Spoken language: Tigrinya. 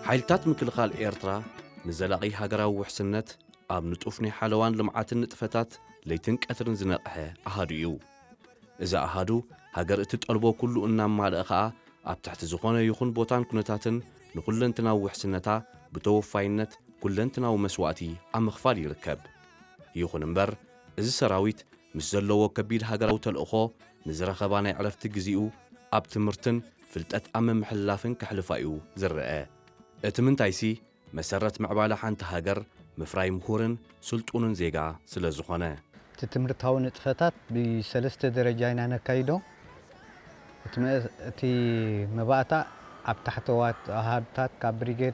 ሓይልታት ምክልኻል ኤርትራ ንዘላቒ ሃገራዊ ውሕስነት ኣብ ንጡፍ ናይ ሓለዋን ልምዓትን ንጥፈታት ለይትን ቀትርን ዝነቕሐ ኣሃዱ እዩ። እዚ ኣሃዱ ሃገር እትጠልቦ ኩሉ እናማልአ ኸኣ ኣብ ትሕቲ ዝኾነ ይኹን ቦታን ኩነታትን ንኹለንትናዊ ውሕስነታ ብተወፋይነት ኩለንትናዊ መስዋእቲ ኣብ ምኽፋል ይርከብ። ይኹን እምበር፣ እዚ ሰራዊት ምስ ዘለዎ ከቢድ ሃገራዊ ተልእኾ ንዝረኸባ ናይ ዕረፍቲ ግዜኡ ኣብ ትምህርትን ፍልጠት ኣብ ምምሕልላፍን ከሕልፋ እዩ ዝረአ። እቲ ምንታይሲ መሰረት ምዕባለ ሓንቲ ሃገር ምፍራይ ምሁርን ስልጡንን ዜጋ ስለ ዝኾነ። እቲ ትምህርታዊ ንጥፈታት ብሰለስተ ደረጃ ኢና ነካይዶ። እቲ መ-፣ እቲ መባእታ ኣብ ታሕተዋት ኣሃዱታት ካብ ብሪጌድ